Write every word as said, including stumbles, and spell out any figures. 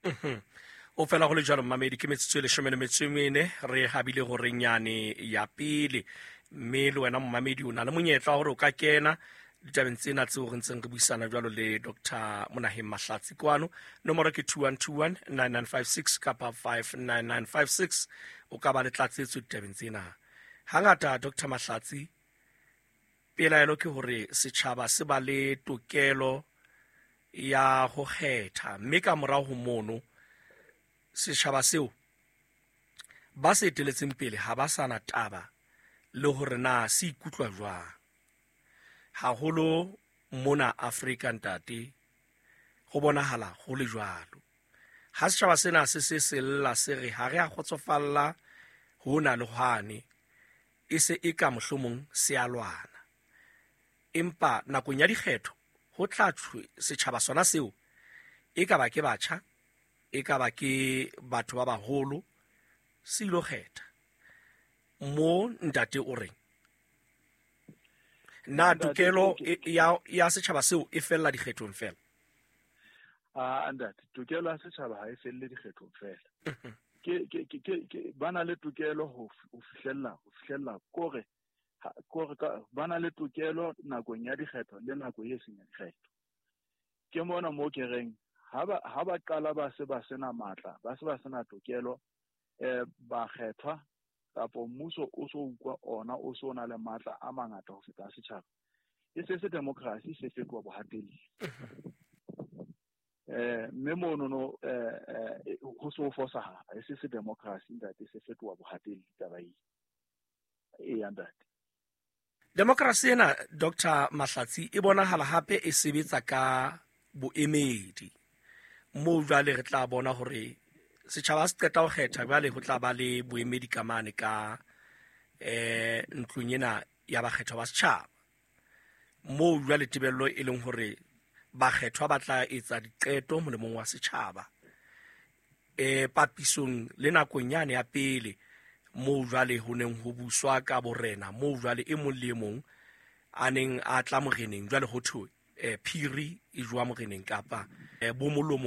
Mhm. O fela go le jalo, mmamedi, ke metsotso e leshome le metso e mene re habile gorenyane ya pele, mme le wena mmamedi o na le monyetla wa gore o ka kena ditabeng tsena tseo re ntseng re buisana jwalo le Doctor Monaheng Mahlatsi kwano. Nomoro ke two one two one nine nine five six kapa five nine nine five six. O ka ba le tlatsetso ditabeng tsena. Hangata, Doctor Mahlatsi, pelaelo ke hore setjhaba se ba le tokelo ya ho kgetha, mme ka morao ho mono setjhaba seo ba se eteletseng pele ha ba sana taba le hore na se ikutlwa jwang. Haholo mona Afrika, ntate, ho bonahala ho le jwalo. Ha setjhaba sena se se sella se re ha re a kgotsofalla hona le hwane, e se e ka mohlomong se a lwana. Empa nakong ya dikgetho ho tla thwe setjhaba sona seo, e ka ba ke batjha, e ka ba ke batho ba baholo, se ilo kgetha. Mo ntate o reng? Na tokelo ya ya setjhaba seo e fella dikgethong fela? Ah, ntate, tokelo ya setjhaba ha e felle dikgethong fela. Ke ke ke ke ba na le tokelo ho ho fihlella ho fihlella kore kore ka ba na le tokelo nakong ya dikgetho le nako e seng ya dikgetho. Ke mona mo ke reng ha ba ha ba qala ba se ba sena matla, ba se ba sena tokelo, eh ba kgethwa kapo mmuso o so utlwa ona o so na le matla a mangata ho feta setjhaba. E se se democracy se fetoha bohatelli. Eh mme mono no eh ho so fosahala, e se se democracy ntate, se fetoha bohatelli taba e. E ya ntate. Democracy ena, Doctor Mahlatsi, e bonahala hape e sebetsa ka boemedi. Moo jwale re tla bona hore setjhaba se qeta ho kgetha, jwale ho tla ba le boemedi ka mane ka eh ntlong ena ya bakgethwa ba setjhaba. Moo jwale tebello e leng hore bakgethwa ba tla etsa diqeto molemong wa setjhaba. Eh papisong le nakong yane ya pele moo jwale ho neng ho buswa ka borena, moo jwale e mong le e mong a neng a tla moreneng, jwale ho thwe eh phiri e jowa moreneng kapa eh bo molomo.